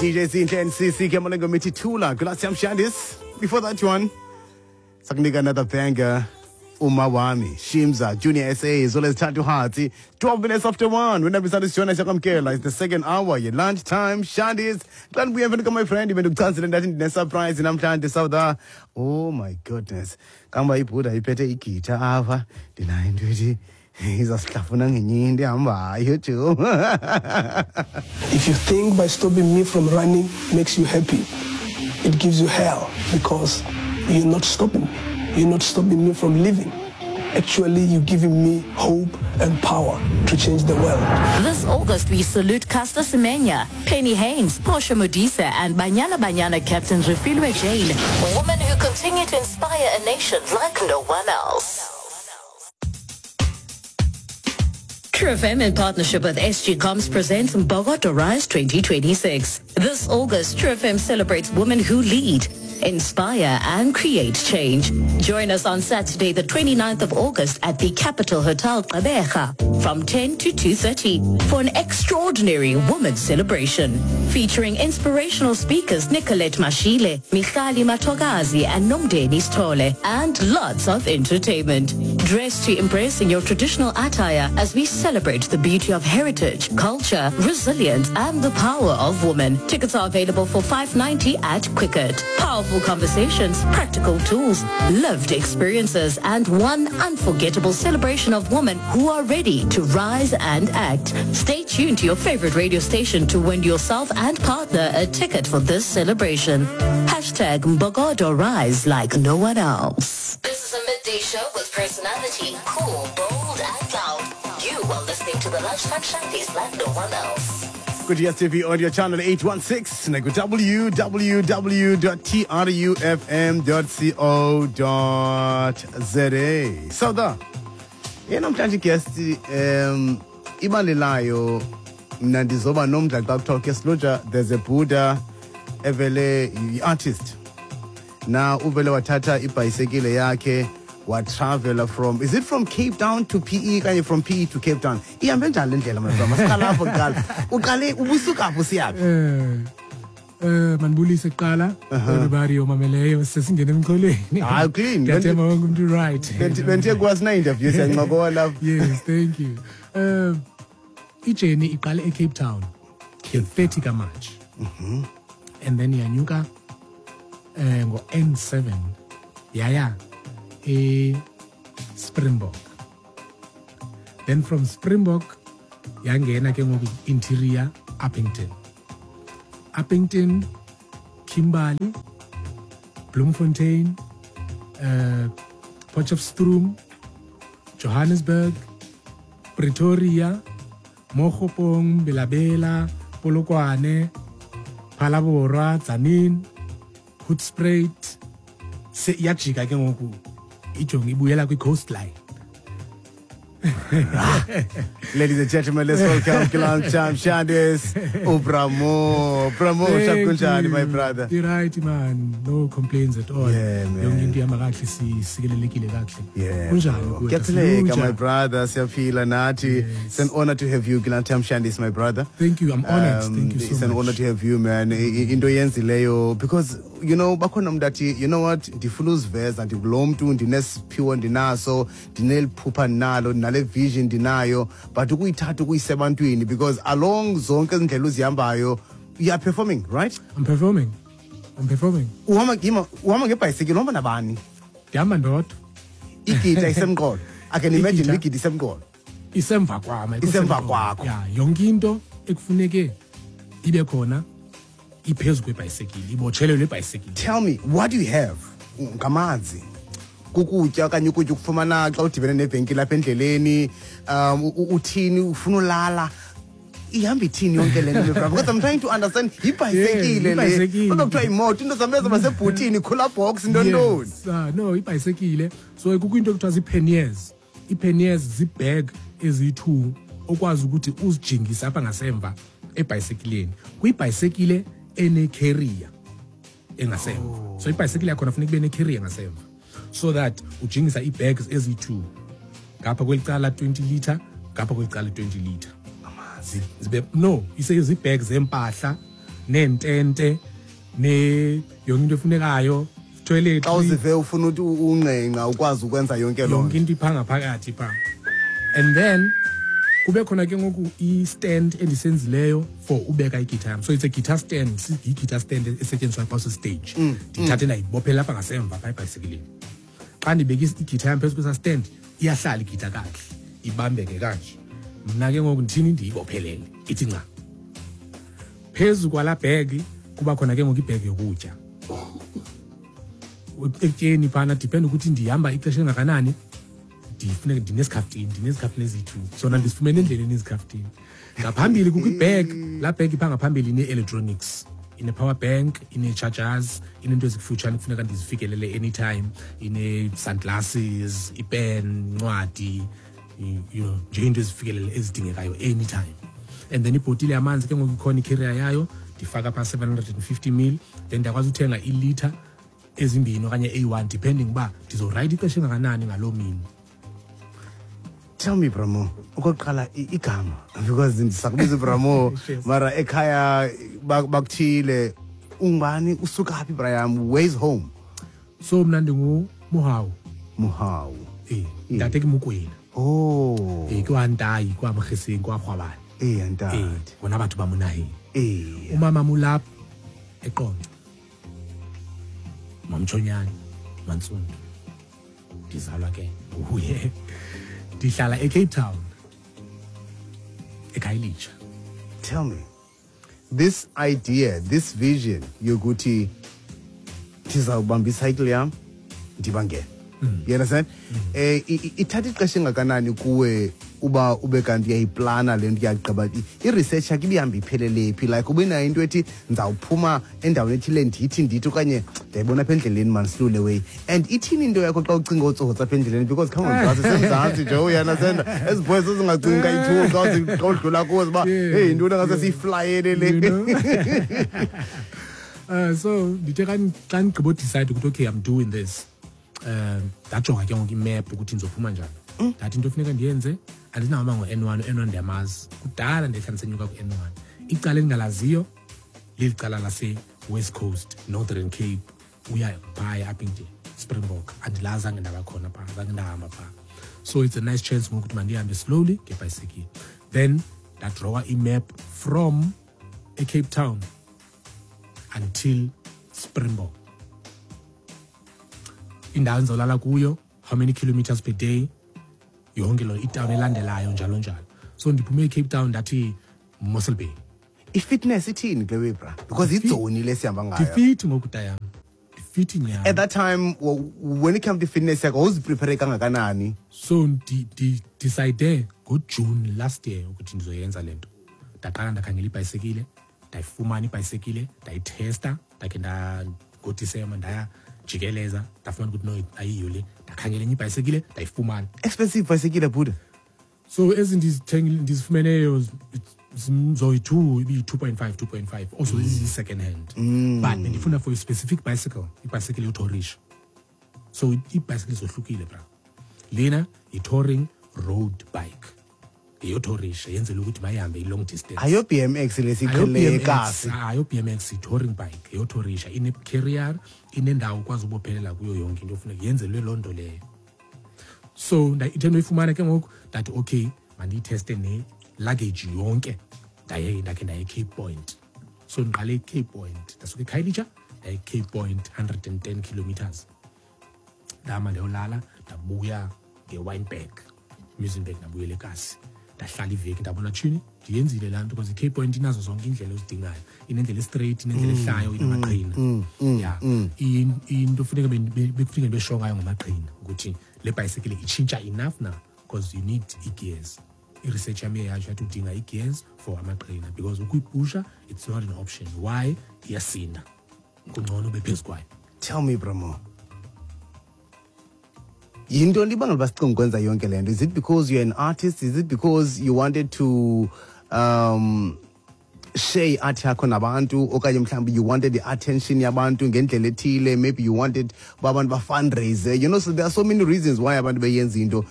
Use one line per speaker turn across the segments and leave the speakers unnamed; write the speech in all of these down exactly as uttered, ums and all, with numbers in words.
D J Zinhle and C C Kemalengo Mititula. Graciam Shandis. Before that one, sakunika another banger. Umawami, Shimza, Junior S A, as well as Tatu Hati. twelve minutes after one. When we started showing Shakamkela, it's the second hour, your lunchtime, Shandis. Glad we have my friend, even to that surprise, and I'm trying to South. Oh my goodness. Kamba ibuda iphethe igitha apha. Ndinayo into ethi izasihlafuna ngenye into ehambayo jo.
If you think by stopping me from running makes you happy, it gives you hell because you're not stopping me. You're not stopping me from living. Actually, you're giving me hope and power to change the world.
This August, we salute Caster Semenya, Penny Haynes, Portia Modise, and Banyana Banyana captain Refiloe Jane, women who continue to inspire a nation like no one else. True F M in partnership with S G Comms presents Mbokodo Rise twenty twenty-six. This August, True F M celebrates women who lead, inspire and create change. Join us on Saturday, the 29th of August at the Capital Hotel Gqeberha from ten to two thirty for an extraordinary women's celebration featuring inspirational speakers Nicolette Mashile, Michali Matogazi and Nomdeni Stole, and lots of entertainment. Dress to impress in your traditional attire as we celebrate the beauty of heritage, culture, resilience and the power of women. Tickets are available for five ninety at Quicket. Powerful conversations, practical tools, lived experiences and one unforgettable celebration of women who are ready to rise and act. Stay tuned to your favorite radio station to win yourself and partner a ticket for this celebration. Hashtag Mbokodo Rise like no one else. This is a midday show with personality, cool, bold and loud. You are listening to the Lunchtime Shandies like no one else.
Good D S T V audio channel eight one six naku W W W dot T R U F M dot co dot Z A. So the ye namhlanje guest um ibali layo mna ndizoba nomdla xa kuthiwa ke Siluja, there's a Buddha evele yi-artist na uvele wathatha ibhayisekile yakhe watravela from, is it from Cape Town to P E kanye from P E to Cape Town? Ihambe njani le ndlela, my brother? Masiqala apho kuqala. Uqale ubusuka apho siyaphi?
Eh eh manibulise kuqala everybody omameleyo, sesingena emxholweni.
Hayi, clean.
Ndiyathemba wonke umuntu right.
Benthe kwasina interview, siyancokola.
Yes, thank you. Uh ijourney iqale eCape Town nge-thirty kaMarch. And then yanyuka eh ngo N seven yaya e Springbok. Then from Springbok yangena ke ngoku interior, Upington. Upington, Kimberley, Bloemfontein, uh, Potchefstroom, Johannesburg, Pretoria, Mookgophong, Bela-Bela, Polokwane, Phalaborwa, Tzaneen, Hoedspruit. Se iyajika ke ngoku ijonge ibuyela kwi-coastline.
Ladies and gentlemen, let's welcome Kilam Shandis uBra Mo. Bra Mo, kunjani, my brother?
You're right, man. No complaints at all.
Yeah, man.
Yonke into ihamba kakuhle, sikelelekile kakuhle.
Yeah.
Kunjani kuwe?
Kuyaphileka, my brother. Siyaphila nathi. It's an honor to have you, Kilam Shandis, my brother.
Thank you. I'm honored.
Um,
Thank you so
It's an
much.
Honor to have you, man. I- i- Into yenzileyo because you know bakhona umuntu athi, "You know what, ndifuna uziveza, ndikulo mntu, ndinesiphiwo ndinaso, ndineliphupha ndinalo, ndinale vision ndinayo," but ukuyithatha ukuyisa ebantwini, because along zonke izindlela uzihambayo, you are performing, right?
I'm performing. I'm performing.
Uhamba yima, uhamba ngebhayisikile, uhamba nabani?
Ndihamba ndodwa.
Igita isemqolo, I can imagine.
Igita.
Igita isemqolo.
Isemva kwam, ayikho
Isemva
semqolo.
Kwakho.
Yeah, yonke into ekufuneke ibe khona iphezu kwebhayisekile, ibotshelelwe ebhayisekile.
Tell me, what do you have? Ngamanzi, kukutya okanye ukutya ukufumana xa udibene nevenkile apha endleleni? um u- u- uthini ufuna ulala, ihamba ithini yonke le nto, bro? Because I'm trying to understand, yibhayisekile
Yeah,
le.
ibhayisekile.
Kuthiwa imoto, into zam ezoba sebhutini, cooler box, ntontoni.
Yes, uh, no, ibhayisekile, so kukho into ekuthiwa zii-panniers. Ii-panniers zii-bag eziyi-two okwazi ukuthi uzijingise apha ngasemva ebhayisekileni, kwibhayisekile ene-carrier engasemva. So ibhayisekile yakhona funeka ibe ne-carrier ngasemva so that ujingisa ii-bags eziyi-two, ngapha kweli cala twenty litre, ngapha kweli cala twenty litre.
Amanzi?
Zibe no, ise zii-bags zempahla. Neentente ne yonke into efunekayo, toilet.
Xa uzive ufuna ukuthi unqenqa ukwazi ukwenza yonke loo
Yonke into ipha ngaphakathi pha. And then kube khona ke ngoku i-stand endisenzileyo for ubeka igitha yam. So it's a guitar stand, i-guitar stand esetyenziswa xa usestage. Ndithathe ndayibophela apha ngasemva phaa ebhayisekileni. Xa ndibeka igitha yam phezu kwesa stand, iyahlala igitha kakuhle, ibambeke kanje. Mna ke ngoku ndithini, ndiyibophelele ithi nca. Phezu kwalaa bhegi kuba khona ke ngoku ibhegi yokutya. Ekutyeni phana depend ukuthi ndihamba ixesha elingakanani, ndifuneka ndinesikhaftini, ndinesikhaftini eziyi-two. Sona ndisifumene endleleni izikhafutini. Ngaphambili kukho ibheg, laa bheg ipha ngaphambili ine-electronics, ine-power bank, ine-chargers, ineento ezikufutshane kufuneka ndizifikelele anytime, ine-sunglasses, ipen, incwadi, you know, nje into ezifikelele ezidingekayo anytime. And then ibhotile yamanzi ke ngoku ikhona icarrier yayo, ndifaka phaa seven hundred and fifty mil, then ndiyakwazi uthenga ilitha ezimbini okanye eyi-one depending uba ndizorayida ixesha engakanani ngaloo mini.
Tell me, Bramo, okokuqala igama, because ndisakubiza uBramo, mara ekhaya bakuthile, ungubani, usuka phi, Brian, where's home?
So mna ndinguMohau.
Mohau.
Eh, ntate ke Mokwena.
Oh.
Eh, ke wa Ntai, ke wa Mogeseng, ke wa Kgwabane.
Eh, ntate.
Eh, bona batho ba mo naheng.
Eh.
Umama Mulap eQonce. Mamtshonyane, Mantsundu. Ndizalwa ke nguye. Ndihlala eCape Town. eKhayelitsha.
Tell me, this idea, this vision yokuthi ndizawubamba icycle yam ndibangene. You understand? Eh, ithatha ixesha engakanani kuwe uba ube kanti uyayiplana le nto, uyagqiba i-research yakho ibihamba iphelele phi? Like ube nayo into ethi ndizawuphuma endaweni ethile ndithi ndithi okanye ndiyayibona apha endleleni man silule way. And ithini into yakho xa ucinga ootsotsi apha endleleni? Because come on, Mzantsi, seMzantsi nje, you understand? Ezi boys ezingacingi kayi-two xa xa udlula kuzo uba hey, yintoni engase siyiflayele le.
You know? Uh, so ndithe xa xa ndigqiba udecide ukuthi okay, I'm doing this. Um, ndajonga ke ngoku imap ukuthi ndizophuma njani. Ndathi into efuneka ndiyenze, andinahamba ngo-N one, u-N one ndiyamazi. Kudala ndehla ndisenyuka ku-N one. Icala endingalaziyo leli cala lase-West Coast, Northern Cape, uya phaya apha nje Springbok. Andilazi, zange ndaba khona phaa, zange ndahamba phaa. So it's a nice chance ngoku ukuthi mandihambe slowly ngebhayisekile. Then ndadrawa imap from eCape Town until Springbok. Indawo endizawulala kuyo, how many kilometers per day, yonke loo itawuni elandelayo njalo njalo. So ndiphume eCape Town ndathi Mossel Bay.
I-fitness ithini kule way, bra? Because idzoni le sihamba ngayo.
Ndifit ngoku tayam. Ndifit nyhani.
At that time, when it came to fitness yakho, wawuziprepare kangakanani?
So ndidecide ngoJune last year ukuthi ndizoyenza le nto. Ndaqala ndakhangela ibhayisekile, ndayifumana ibhayisekile, ndayithesta, ndakhe nda ngoDisemba ndaya jikeleza, ndafumana ukuthi no, ayiyo le. Ndakhangela enye ibhayisekile, ndayifumana.
Expensive bhayisekile, Buddha.
So ezi ndizithengile, ndizifumeneyo zoyi-two, ibiyi-two point five, two point five. Also, this is second hand.
Mm.
But ndifuna for a specific bicycle, ibhayisekile yotourisha. So ibhayisekile zohlukile, bra. Lena yi-touring road bike. Eyotourisha, yenzela ukuthi mayihambe i-long distance.
Ayo B M X le siqhele ekasi.
Ayo B M X i-touring bike, eyotourisha, ine-carrier, inendawo ukwazi ubophelela kuyo yonke into ofuneka yenzelwe loo nto leyo. So ithe ndoyifumana ke ngoku, ndathi okay, mandiyitheste ne-luggage yonke. Ndaye ndakhe ndaye eCape Point. So ndiqale eCape Point, ndasuka eKhayelitsha ndaye eCape Point, hundred and ten kilometers. Ndahamba ndayolala, ndabuya ngeWynberg, Muizenberg, ndabuyela ekasi. Ndahlala iveki, ndabona tshini, ndiyenzile laa nto because iCape Point inazo zonke iindlela ozidingayo. Inendlela estraight, inendlela
Mm,
ehlayo, inamaqhina.
mm, mm,
Yeah.
mm.
In-, into funeka be-, be-, bekufuneka besho ngayo ngamaqhina ukuthi le bhayisekile itshintsha enough na because you need i-gears. I-research yam iyatsho yathi udinga i-gears for amaqhina because ukuyipusha it's not an option. Why? Iyasinda. Kungcono ube phezu kwayo.
Tell me, Bramo. Yintoni ibangela uba sicinge ukwenza yonke le nto? Is it because you're an artist? Is it because you wanted to, um, share i-art yakho nabantu? Okanye mhlawumbi you wanted the attention yabantu ngendlela ethile? Maybe you wanted uba abantu ba-fundraise. You know, so there are so many reasons why abantu beyenza into.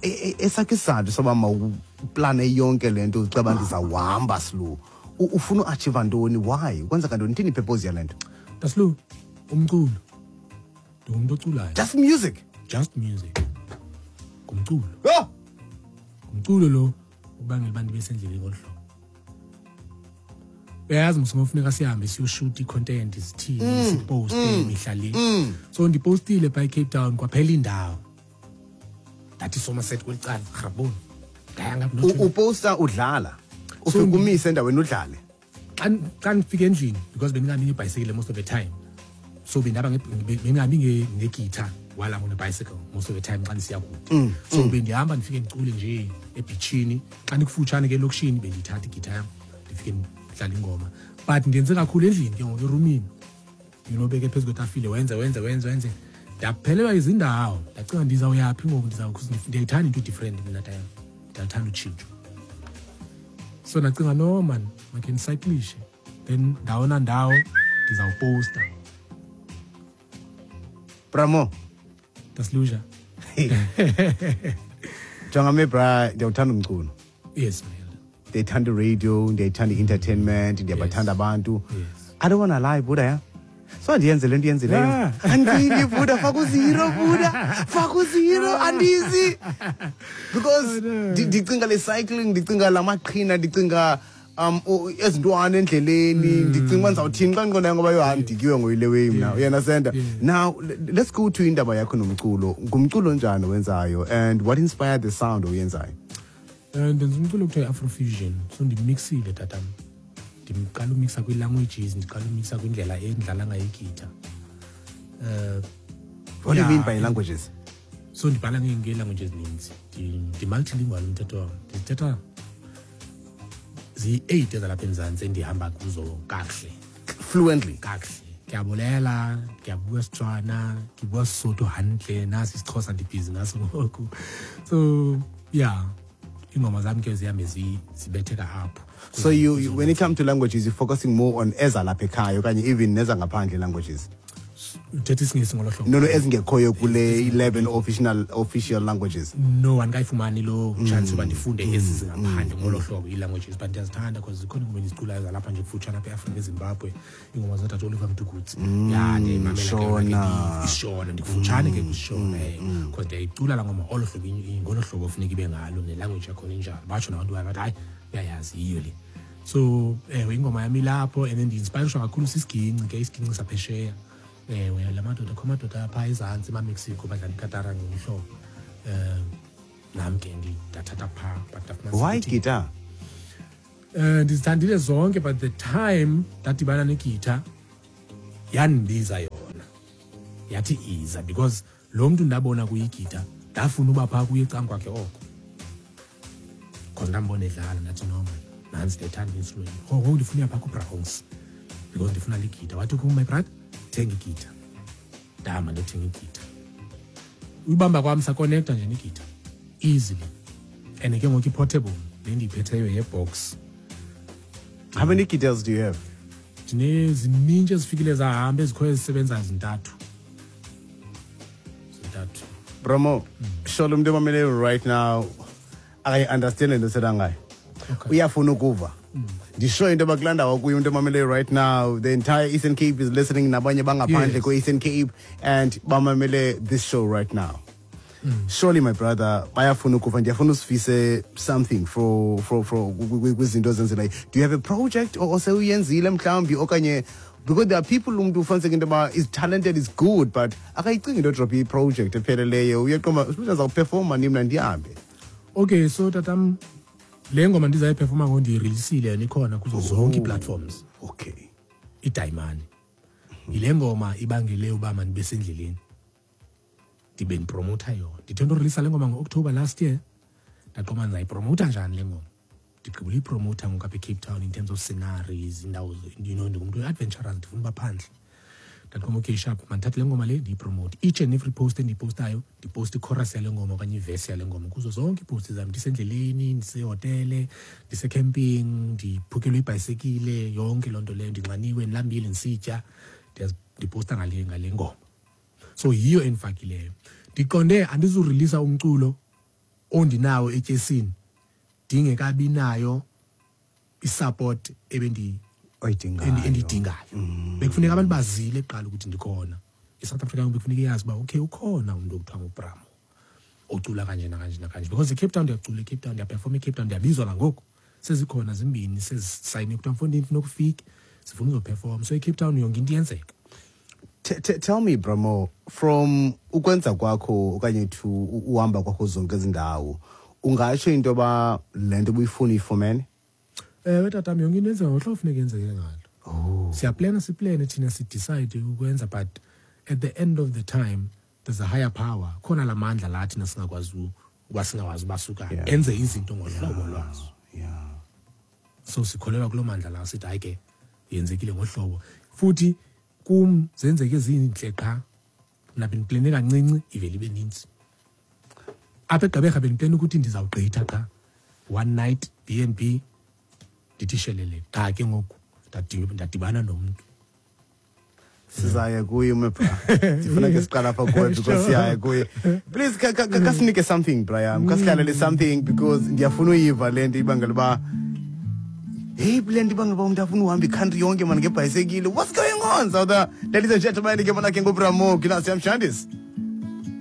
E-, e-, esakhe isizathu soba mawuplane yonke le nto ucaba ndizawuhamba slow. Ufuna uachieve ntoni? Why? Kwenzeka ntoni? Ithini ipurpose yale nto?
Daslu, umculo. Ndingumntu oculayo.
Just music.
Just music. Ngumculo.
Oh!
Ngumculo lo ubangela uba ndibe sendleleni ngolu hlobo. Uyayazi mos ngofuneka sihambe siyoshoot i-content, sithini, siposte mihla le. So ndipostile phaa eCape Town, kwaphela indawo. Ndathi Somerset kweli cala, rhaboni. Ndaya ngapha
U- Uposta udlala. Ufike umise endaweni udlale.
Xa xa ndifika endlini, because bendingabi ngebhayisekile most of the time, so bendihamba nge- bendingabi nge- ngegitha while I'm on a bicycle most of the time xa ndisiya kude. So bendihamba ndifike ndicule nje ebhitshini. Xa ndikufutshane ke elokishini, bendiyithatha igitha yam, ndifike ndidlale ingoma. But ndenze kakhulu endlini ke ngoku, erumini, you know beke phezu kwetafile, wenze wenze wenze wenze. Ndaphelelwa izindawo, ndacinga ndizawuyaphi ngoku, ndiza ndiyayithanda into different mna tayam, ndiyathanda utshintsho. So ndacinga, no man, makhe ndicyclishe, then ndawo nandawo ndizawuposta.
Bramo.
Dasluja.
Jonga me bra, ndiyawuthanda umculo.
Yes, man.
Ndiyayithanda radio, ndiyayithanda i-entertainment, ndiyabathanda abantu.
Yes.
I don't wanna lie, Buddha, yeah. So andiyenze le nto iyenzileyo.
Yeah.
Andili, Buddha, faka uzero, Buddha. Faka uzero, andizi. Because ndi- ndicinga le cycling, ndicinga la maqhina, ndicinga um o- ezintwana endleleni, ndicinga uba ndizawuthini xa ndiqondayo ngoba yho, hayi, ndidikiwe ngoyile way mna. You understand?
Yeah.
Now le- let's go to indaba yakho nomculo. Ngumculo onjani owenzayo and what inspired the sound oyenzayo?
um ndenza umculo okuthiwa i-Afrofusion. So ndimixile, tatam. Ndiqala umixa kwii-languages, ndiqala umixa kwindlela endidlala ngayo igitha. um
What do you mean
Yeah.
by languages?
So ndibhala nge- ngee-language ezininzi. Ndi- ndi-multilingual umthetho wam. Ndizithetha ziyi-eight ezalapha eMzantsi endihamba kuzo kakuhle.
Fluently.
Kakuhle. Ke a bolela, ke a bua Setswana, ke bua Sesotho hantle, nasi isiXhosa ndibhizi ngaso ngoku. So yeah, iingoma zam ke zihambe zi- zibetheka apho.
So you, you when it comes to languages, you're focusing more on ezalapha ekhaya okanye even nezangaphandle languages?
Uthetha isiNgesi ngolo hlobo?
No, no, ezingekhoyo kule eleven official official languages.
No, andikayifumani loo chance yoba ndifunde ezi zingaphandle ngolo hlobo, ii-languages, but ndiyazithanda because zikhona iingoma endiziculayo zalapha nje kufutshane apha eAfrika, eZimbabwe, iingoma zootata Oliver Mtukudzi. Ya, ndiyayimamela ke yona ke.
Shona.
Isishona, ndikufutshane ke kwisishona, eh because ndiyayicula laa ngoma olo hlobo, i- ngolo hlobo ofuneka ibe ngalo, nelanguage yakhona injalo. Batsho nabantu bayo bathi, hayi, uyayazi, yiyo le. So ewe, ingoma yam ilapho, and then ndi-inspirishwa kakhulu sisiginci ke, isiginci saphesheya. Ewe, la madoda, kho amadoda phaa ezantsi emaMexico badlala ikatara ngohlobo. Um nam ke ndathatha phaa, but ndafumanisa
Why
ukuthi-
guitar?
um ndizithandile zonke, but the time ndadibana negitha, yandibiza yona, yathi iza, because lo mntu ndabona kuyigitha, ndafuna uba phaa kuye ecam kwakhe oko, because ndambona edlala, ndathi, no man, nantsi, ndiyayithanda i-instrument. Ngoku ndifuna uya phaa kuBrahongs because ndifuna le githa. Wathi kum, my brother, thenga igitha. Ndahamba ndothenga igitha. Uyibamba kwam, sakonekta nje negitha easily, and ke ngoku i-portable le ndiyiphetheyo yebox.
How many guitars do you have?
Ndinezinintshi ezifikile zahamba, ezikhoyo ezisebenzayo zintathu, zintathu.
Bramo, sure umntu omameleyo right now akayi-understand le nto setha ngayo.
Okay.
Uyafuna ukuva. Ndisho into yoba kulaa ndawo kuyo umntu omameleyo right now, the entire Eastern Cape is listening, nabanye bangaphandle
Yes.
kwe-Eastern Cape and bamamele this show right now. Surely, my brother, bayafuna ukuva. Ndiyafuna usifise something for for for kwizinto ozenzileyo. Do you have a project or osewuyenzile mhlawumbi, okanye because there are people, umntu ufumaniseke into yoba is talented, is good, but akayicingi into yodropha i-project epheleleyo, uyaqonda ndizawuperforma ni mna ndihambe.
Okay, so tatam, le ngoma ndizayiperforma ngoku ndiyirilisile yona, ikhona kuzo zonke ii-platforms.
Okay
Idayimani yile ngoma ibangele uba mandibe sendleleni, ndibe ndipromotha yona. Ndithe ndorilisa le ngoma ngo-October last year, ndaqoma ndizayipromotha njani le ngoma. Ndigqibile uyipromotha ngoku apha eCape Town in terms of sceneries, indawo, you know ndingumntu we-adventurous, ndifuna uba phandle. Ndaqoma, okay, sharp, mandithathe le ngoma le ndiyipromote. Each and every post endiyipostayo, ndiposta ichorus yale ngoma okanye ivesi yale ngoma kuzo zonke iiposti zam, ndisendleleni, ndisehotele, ndisecamping, ndiphukelwe ibhayisekile, yonke loo nto leyo, ndinxaniwe, ndilambile, ndisitya, ndiyazi- ndiposta ngale ngale ngoma. So yiyo endifakileyo. Ndiqonde andizurilisa umculo ondinawo etyesini ndingekabi nayo I-support ebendi
Oyidingayo.
endi- endiyidingayo bekufuneka abantu bazile kuqala ukuthi ndikhona. I-South Africa bekufuneka iyazi uba okay, ukhona umntu okuthiwa nguBra Mo ocula kanje nakanje nakanje, because eCape Town ndiyacula, eCape Town ndiyaperforma, eCape Town ndiyabizwa nangoku. Sezikhona zimbini sezisayine kuthiwa, mfondini, funa ukufika, sifuna uzoperforma. So eCape Town yonke into iyenzeka.
T- t- tell me, Bra Mo, from ukwenza kwakho okanye to u- uhamba kwakho zonke ezi ndawo, ungatsho into yoba le nto ubuyifuna uyifumene?
Ewe tatam, yonke into yenzeka ngohlobo funeka yenzeke ngalo.
Oh.
Siyaplana, siplane thina, sidecide ukwenza, but at the end of the time there's a higher power khona, la mandla la thina singakwazi u- uba singawazi ubasuka
Yeah.
enze izinto ngohlobo lwazo.
Yeah.
So sikholelwa kuloo mandla lawo, sithi hayi ke, yenzekile ngohlobo. Futhi kum zenzeke zintle qha. Mna bendiplane kancinci, ivele ibe nintsi. Apha eGqeberha bendiplane ukuthi ndizawugqitha qha one night B and B, ndithi shelele qha. Ke ngoku ndadi- ndadibana nomntu.
Sizaya kuye ume bra, ndifuna ke siqala apha kuwe because siyaya kuye. Please ka- ka- ka- kasinike something, Brian, kasidlalele something because ndiyafuna uyiva le nto ibangela uba, hey, le nto ibangela uba umntu afuna uhamba i-country yonke mani ngebhayisekile. What's going on, South? Ladies and gentlemen, ke bona ke nguBra Mo, Gilasi Amshandis.